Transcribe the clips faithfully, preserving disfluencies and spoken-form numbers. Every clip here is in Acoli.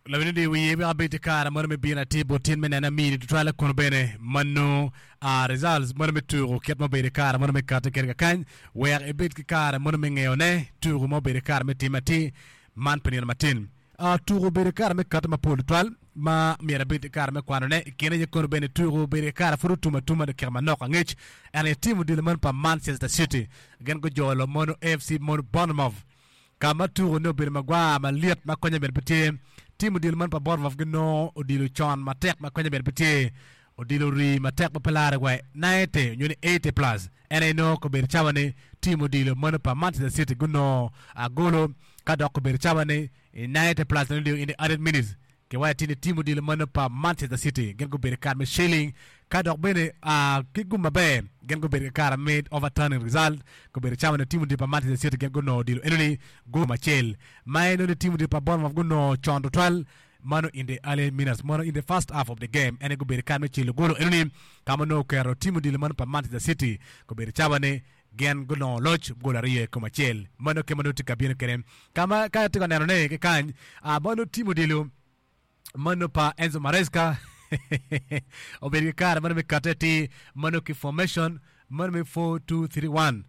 Lawiny di wiye wek abed i kare mono me bino atir bot tin me neno amini tutwal kono bene mano uh, results mono me tuko kit ma obedo i kare mono me kati kede kakany wek ibed ki kare mono me ngeyone tuko ma obedo i kare me tim atir man pi nino matin. Uh, tuko obedo i kare me kati mapol tutwal ma myero abed i kare me kwanone i kine aye kono bene tuko obedo i kare pud otum atuma dakika manok angec en aye tim odilo man pa Manchester City gin gujolo mono A F C mono Bournemouth ka ma tuko ne obedo magwar malyet ma konye bene pe tye. Tim odilo man pa Bournemouth ginongo odilo con matek ma konye bene pe tye, odilo rii matek ma pe lare wa ninety nyo ni eighty plus en aye nongo kobedo cawa ni tim odilo mano pa Manchester City gunongo agolo ka dok kobedo cawa ni i ninety plus in the added minutes kiwaco tye ni tim odilo mano pa Manchester City gin gubedo kare me shilling ka dok bene uh, ki gum maber gin gubedo ki kare me overturning result gubedo cawa ni tim odilo pa Manchester City gin gunongo odilo enoni gum acel ma en ni tim odilo pa Bournemouth gunongo con tutwal mano in the early minutes mano in the first half of the game en gubedo kare me celo golo enoni ka ma nongo oketo tim odilo mano pa Manchester City gubedo cawa ni gin gunongo loc gol aryo i kom acel. Mano ke ma nongo tye ka bino kede kama ka atye ka neno ne ki kany uh, mano tim odilo mano pa Enzo Maresca obedo ki kare mano me kate ti mano ki formation mano me four two three one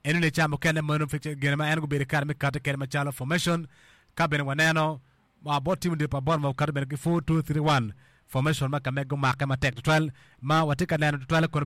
eno ne ca mukene mano gine ma en gubedo kare me kate kede macalo formation ka bene waneno ma bot tim odilo pa Bournemouth okato bene ki four two three one formation ma ka me gumake matek tutwal ma watye ka neno tutwal kono.